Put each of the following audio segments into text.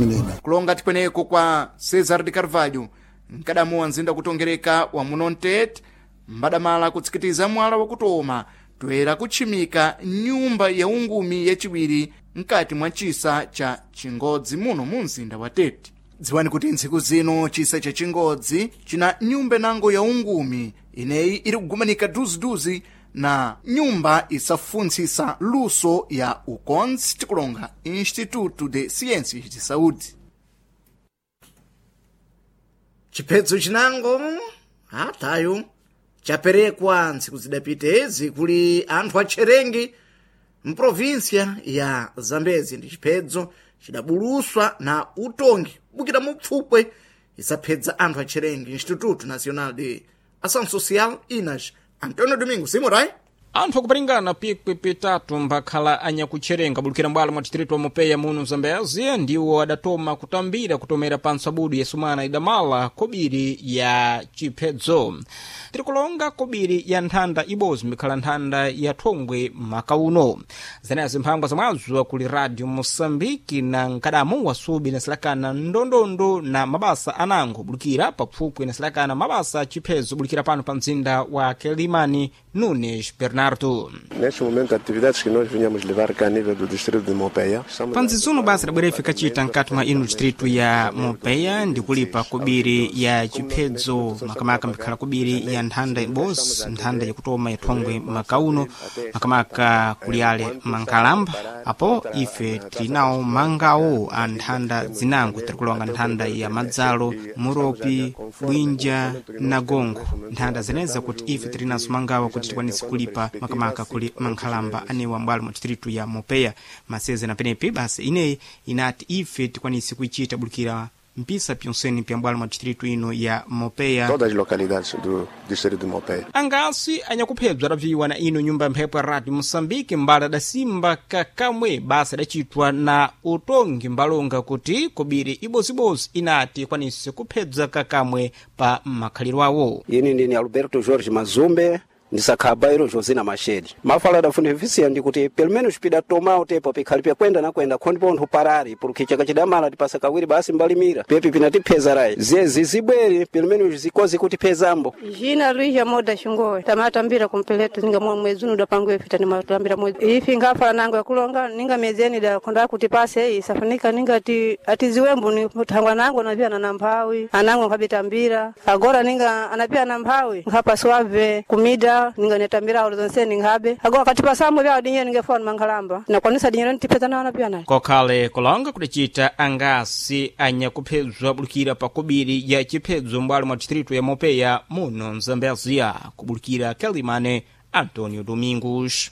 Menina. Kulonga tipweneko kwa Cesar de Carvalho, mkadamu wa mzinda kutongereka wa muno Mtete, mbadamala kutsikitiza mwala wakutoma toera kutchimika nyumba ya ungumi yaciwiri mkati mwa chisa cha Chingodzi muno mu mzinda wa Tete. Dziwani kuti ntsiku zino chisa cha Chingodzi china nyumba nango ya ungumi ineyi iri kugumanika duziduzi na nyumba isafuntsisa luso ya ukonzi tikulonga Instituto de Ciências de Saúde. Chiphedzo chinango atayo chaperekwa ntsiku zidapitezi kuli anthu atcherengi mprovinsia ya Zambezi. Ndi chiphedzo chidabuluswa na utongi kubukira mupfupwe isaphedza anthu atcherengi Instituto Nacional de Ação Social INAS. Antonio Domingo Simurai. Anthu akuparingana pikwi pitatu mbakhala anyakutcherenga bulukira mbwalo mwa distritu wa Mopeya muno Zambezi ndiwo adatoma kutambira kutomera pantso abudu ya sumana idamala kobiri ya chiphedzo. Tirikulonga kobiri ya nthanda ibodzi mbikhala nthanda ya thongwe maka uno. Zenezo mphangwa zamwazo kuli Radio Moçambique na nkadamu wasubi nasilakana ndondondo na mabasa anango bulukira paphupwe nasilakana mabasa chiphedzo bulukira pano pa mzinda wa Quelimane. Nunes Bernardo. Neste momento, atividades que nós vinhamos levar cá a nível do distrito de Mopeia. Panzizuno basa labwera ife kachita mkati mwa ino distritu ya Mopeia ndikulipa kobiri ya chiphedzo makamaka mbikhala kobiri ya nthanda ibodzi nthanda yakutoma ya thongwe makauno makamaka kuli ale mankalamba apo ife tilinawo mangawo a nthanda zinango tirikulonga nthanda ya madzalo muropi bwinja na gongo nthanda zeneza kuti ife tilinaso mangawo kuti tikwanise kulipa makamaka kuli mankhalamba anewa mbwalo mwa distritu ya Mopeya maseze na penepi basi ineyi inati ife tikwanise kuichita bulukira mpisa pyonseni pya mbwalo mwa distritu ino ya Mopeya. Todas as localidades do distrito de Mopeia. Angasi anyakuphedzwa adabviwa na ino nyumba ya mphepo ya Radio Moçambique mbala adasimba kakamwe basa adacitwa na utongi mbalonga kuti kobiri ibozibodzi inati ikwanise kuphedza kakamwe pa makhaliro awo. Ine ndine Alberto Jorge Mazumbe ndisakhala ilo Josina Machedi. Mafala adafunifisiya ndikuti pelo menos pida tomao tepo pikhali pyakwenda na kwenda khondi pontho parari porque chaka chidamala tipasa kawiri basi mbalimira pepi pinatipheza rayi zezi zibwere pelo menos zikozi kutiphezambo. Jina Luija Moda Xingowe tamatambira kumpeleto ninga mwa mwezi uno dapango ifita ni matambira mwezi ifi ngafala nango yakulonga ninga miezi eni da konda kuti pase isafunika ninga ati atiziwembu ni thangwa nango napia na namphawi anango nkhabitambira agora ninga anapia na mphawi nkhapaswave kumida ninga netambira awo zonse ninghabe agora kati pasambo vyawo dinye ningefona mankhalamba nakwanisa dinye nitipeza nawo anapia naye. Kokhale kulonga kudacita angasi anyakuphedzwa bulukira pa kobiri ya chiphedzo mbwalo mwa distritu ya Mopeya muno Mzambezia kubulukira Quelimane. Antonio Domingos.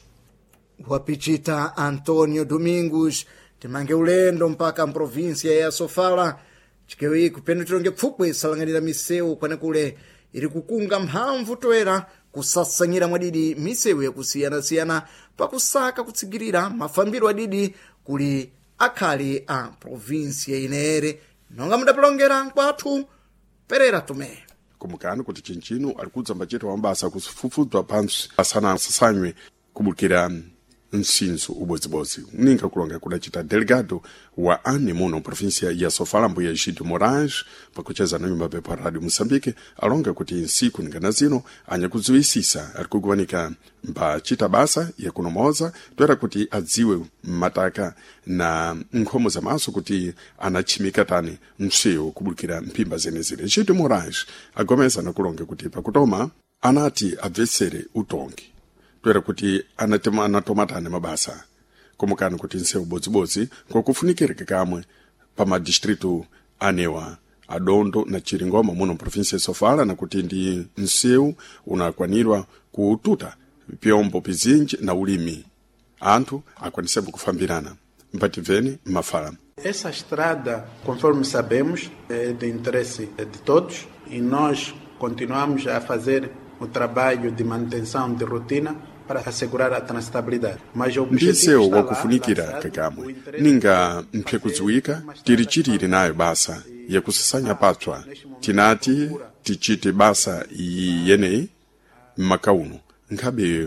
Wapichita Antonio Domingos. Timange ulendo mpaka mprovinsia ya Sofala chikewi kupenu tilonge pfupwe isalang'anira misewu kwanekule iri kukunga mphamvu toera kusasanyira mwadidi misewu yakusiyanasiyana pakusaka kutsigirira mafambiro adidi kuli akhali a provinsia inere nonga mudapilongera nkwathu Perera Tomé. Kumukani kuti chinchino ali kudza mbachete wa mabasa kufufudzwa pantsi asana asasanywe kubukira msinzo ubodzibodzi ninga kulonga kudacita delegado wa ane muno província ya Sofala mbuya Egídio Moraes pakucheza na nyumba pepa Radio Moçambique alonga kuti nsiku ningana zino anyakudziwisisa ari kuguwanika mbachita basa yakunomoza toera kuti adziwe mataka na nkhomo za maso kuti anachimika tani msewu kubukira mphimba zenezene. Egídio Moraes agomeza nakulonga kuti pakutoma anati abvetsere utongi toera kuti anatomatane mabasa komukani kuti nsewu bodzibodzi ngokufunikireke kamwe pa madistritu anewa Adondo na Chiringoma muno província ya Sofala nakuti ndi nsewu unakwanirwa kututa pyombo pizinji na ulimi anthu akwanisembo kufambirana mpatibveni mafala. Essa estrada, conforme sabemos, é de interesse de todos e nós continuamos a fazer o trabalho de manutenção de rotina para assegurar a transitabilidade. Mas o objetivo Ndisewu está lá, wakufunikira lançado, o kakamwe interesse ninga mphekudziwika tiri chitiri nayo basa yakusasanya patswa tinati tichite basa iyi yeneyi m'maka uno nkhabe